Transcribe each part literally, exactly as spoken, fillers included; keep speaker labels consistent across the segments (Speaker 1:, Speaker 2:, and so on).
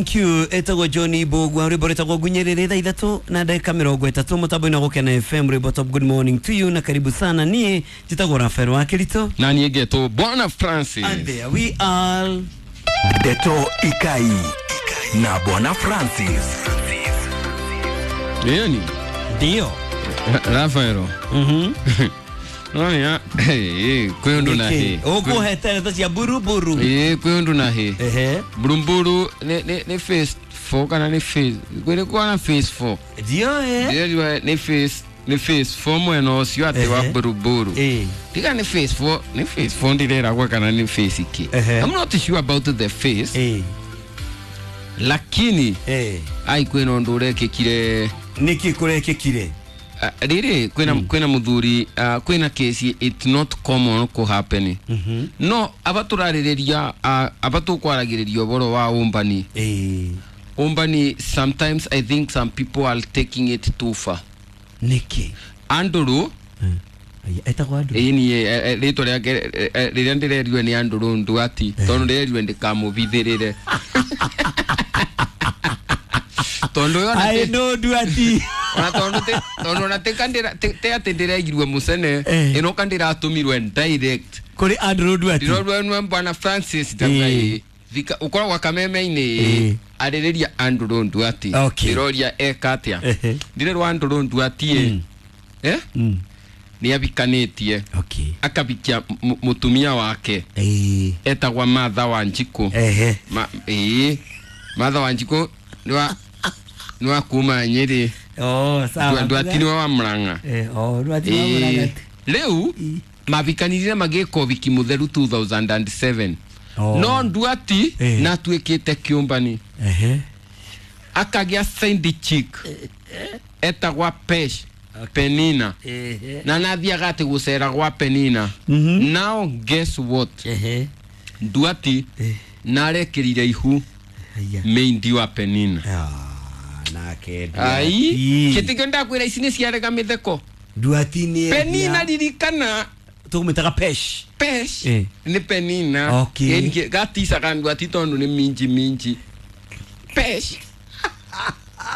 Speaker 1: Thank you etagwo Johnny Bogwa rwimbo rwĩtagwo Ngunyĩrĩrĩ thaa ithatũ na ndagĩka mĩrongo ĩtatũ mũtambo-inĩ wa Gũkena F M rwimbo top. Good morning to you na karibu sana. Niĩ njĩtagwo Rafael wa Kirito
Speaker 2: na niĩ ngetwo Bwana Francis
Speaker 1: and there we are.
Speaker 3: Ndeto Ikai na Bwana Francis.
Speaker 2: Nini?
Speaker 1: Ndio
Speaker 2: Rafael.
Speaker 1: Mhm.
Speaker 2: No ya, eh, kwĩ ũndũ na hĩ.
Speaker 1: Ũkũhete ndeto cia buruburu.
Speaker 2: Eh, kwĩ ũndũ na hĩ.
Speaker 1: Ehe.
Speaker 2: Buruburu nĩ nĩ nĩ phase four kana nĩ phase. Kwĩ kwa na phase four.
Speaker 1: Ndio eh.
Speaker 2: Ndio nĩ phase nĩ phase four mwena ũcio atĩ wa buruburu.
Speaker 1: Eh.
Speaker 2: Tiga nĩ phase four, nĩ phase four ndireragwo kana nĩ phase iki. I'm not sure about the phase.
Speaker 1: Eh.
Speaker 2: Lakini
Speaker 1: eh
Speaker 2: ai kwĩna ũndũ ũrekĩkire.
Speaker 1: Nĩkĩ kũrekĩkire?
Speaker 2: Uh, riri kwina mm. kwina muthuri uh, kwina kesi it's not common ko happen.
Speaker 1: Mm -hmm.
Speaker 2: No abaturariria uh, abatukwaragiriria uboro wa umbani
Speaker 1: eh
Speaker 2: umbani sometimes I think some people are taking it too far.
Speaker 1: Niki
Speaker 2: Andrew
Speaker 1: mm. Etagwo Andrew
Speaker 2: eh ni ritwa riake riria ndirerirwe ni Andrew Nduati tondu ndirerirwe ndikamubithirire tondu yo
Speaker 1: I know Nduati
Speaker 2: ona tondu te tondu ona te kandira te ati ndireigirwe mucene ino kandira atumirwe direct
Speaker 1: kuri Andrew Nduati
Speaker 2: ndirorwe nwe Bwana Francis ndagai thika ukoragwo kameme-inĩ arĩrĩria Andrew Nduati ndiroria eka atia ndirerwa Andrew Nduati eh ni abikanĩtie
Speaker 1: okay
Speaker 2: akabikia mutumia wake
Speaker 1: eh
Speaker 2: etagwa Martha Wanjiku
Speaker 1: ehe
Speaker 2: eh Martha Wanjiku niwa niwa kuma Nyeri.
Speaker 1: Oh sawa
Speaker 2: Nduati niwe wa Murang'a
Speaker 1: eh oh Nduati wa Murang'a
Speaker 2: riu mabikanirire magĩka ũhiki mũtheru two thousand seven.
Speaker 1: Oh.
Speaker 2: No Nduati
Speaker 1: eh.
Speaker 2: na atuĩkĩte kĩũmbani
Speaker 1: ehe
Speaker 2: akagĩa side chick etagwa Pesh
Speaker 1: okay.
Speaker 2: Penina
Speaker 1: ehe
Speaker 2: na nathiaga atĩ gũcera gwa Penina.
Speaker 1: Mm -hmm.
Speaker 2: Now guess what
Speaker 1: ehe
Speaker 2: Nduati
Speaker 1: eh.
Speaker 2: narekĩrire ihu meindi wa Penina.
Speaker 1: Ah, nake
Speaker 2: Ai kitikio ndakwira ici nĩ ciarega mĩtheko
Speaker 1: Nduati nĩ
Speaker 2: Penina ririkana
Speaker 1: tũkũmĩtaga Pesh
Speaker 2: Pesh
Speaker 1: eh.
Speaker 2: nĩ Penina
Speaker 1: okay.
Speaker 2: Gaticaga Nduati tondu nĩ minji minji Pesh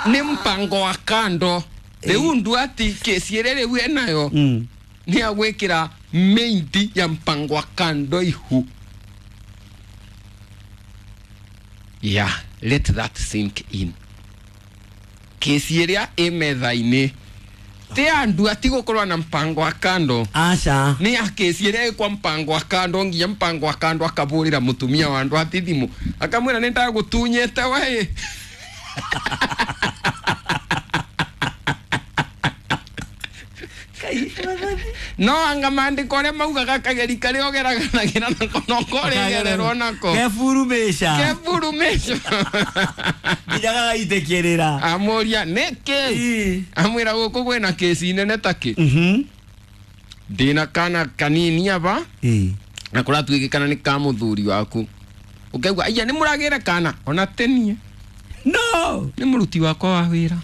Speaker 2: nĩ mpango wa kando rĩu Nduati kesi ĩrĩa rĩu enayo
Speaker 1: mm.
Speaker 2: nĩ agwĩkĩra meindi ya mpango wa kando ihu. Yeah, let that sink in. Kesi ĩrĩa ĩ metha-inĩ ti andu atigũkorwo na mpango wa kando.
Speaker 1: Aca
Speaker 2: nĩ ya kesi ĩrĩa ĩ kwa mpango wa kando nginya mpango wa kando akabũrĩra mũtumia wa andũ ati thimũ akamwĩra nĩ ndagũtunyĩte we. No anga maandĩko ũrĩa maugaga kageri karĩa ũgeraganagĩra nako no koregererwo nako
Speaker 1: keburumĩca
Speaker 2: keburumĩca
Speaker 1: nginya gagaitĩkĩrĩra
Speaker 2: amũria nĩkĩ amwĩra gũkũ kwĩna kesi nene takĩ ndĩna kana kanini aba na kũratuĩkĩkana nĩ ka mũthuri waku ũkaigua aiya nĩ mũragĩra kana ona tenie
Speaker 1: no
Speaker 2: nĩ mũruti wakwa wa wĩra.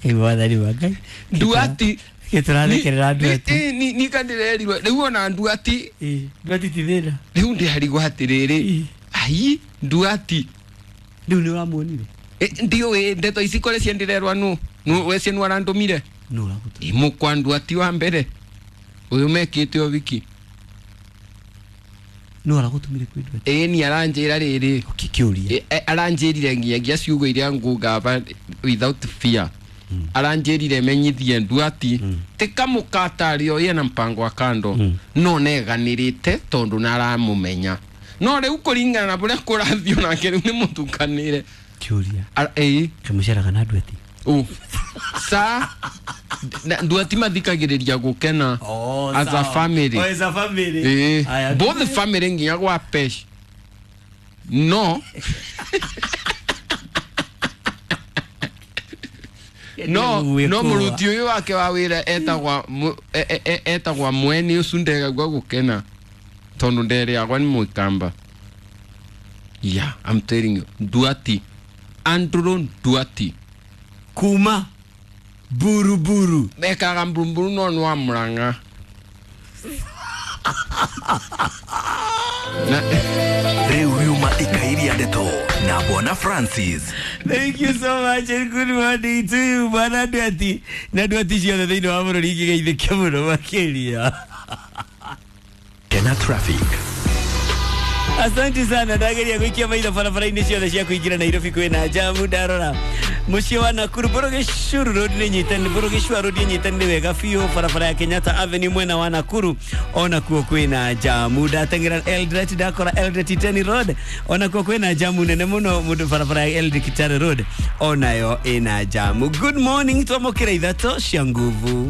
Speaker 1: Mwathani wa Ngai
Speaker 2: Nduati
Speaker 1: gĩtũrathekerera Nduati
Speaker 2: ni ni kandirerirwe rĩu ona Nduati
Speaker 1: Nduati ti thĩna
Speaker 2: rĩu ndĩarigwo atĩrĩrĩ ai Nduati
Speaker 1: rĩu nĩ ũramuonire
Speaker 2: ndiũĩ ndeto ici kũrĩ ciendirerwa nũ nũ we cie nũ arandũmire
Speaker 1: nũ ũragũtũmire
Speaker 2: mũkwa Nduati wa mbere ũyũ mekĩte ũhiki
Speaker 1: nũ aragũtũmire kwĩ Nduati
Speaker 2: ĩĩ ni aranjĩra rĩrĩ
Speaker 1: kĩũria
Speaker 2: aranjĩrire nginyagia ciugo iria ngũgaba without fear. Mm. Aranjĩrire menyithie Nduati mm. tikamũkatario yena mpango wa kando mm. no neganĩrĩte tondũ naramũmenya no rĩu kũringana na ũrĩa kũrathiĩ nake rĩu nĩ mũtukanĩre
Speaker 1: kĩũria
Speaker 2: ĩĩ
Speaker 1: kamũceraga na Nduati
Speaker 2: ũ sa Nduati mathikagĩrĩria gũkena
Speaker 1: oh,
Speaker 2: as a family.
Speaker 1: Oh, as a family.
Speaker 2: Eh, both the family nginya gwa Pesh no no no mũruti ũyũ wake wa wĩra etagwa etagwa mweni ũcio ndegagua gũkena tondũ nderĩagwa nĩ mũikamba. Yeah, I'm telling you Nduati Andrew Nduati
Speaker 1: kuma buruburu
Speaker 2: mekaga mburumburu no nĩ wa Murang'a. Na
Speaker 3: Rĩu riuma ikairia ndeto na Bwana Francis.
Speaker 1: Thank you so much and good morning to you bwana Ndwati na Ndwati ciothe thĩinĩ wa bũrũri ingĩgeithĩke mũno makĩria.
Speaker 3: Kena traffic.
Speaker 1: Asante sana, ndageria gũikia maitho barabara-inĩ ciothe cia kũingĩra Nairobi kwĩna jamu. Ndarora mũciĩ wa Nakuru Burugicuru Road nĩ nyitani, Burugicua Road ĩnyitanire wega biũ. Barabara ya Kenyatta Avenue mwena wa Nakuru ona kuo kwĩna jamu. Ndateng'era Eldoret, ndakora Eldoret Iten Road ona kuo kwĩna jamu nene mũno mũndũ. Barabara ya Eldoret Kitale Road onayo ĩna jamu. Good morning, twamũkĩra ithatũ cia nguvu.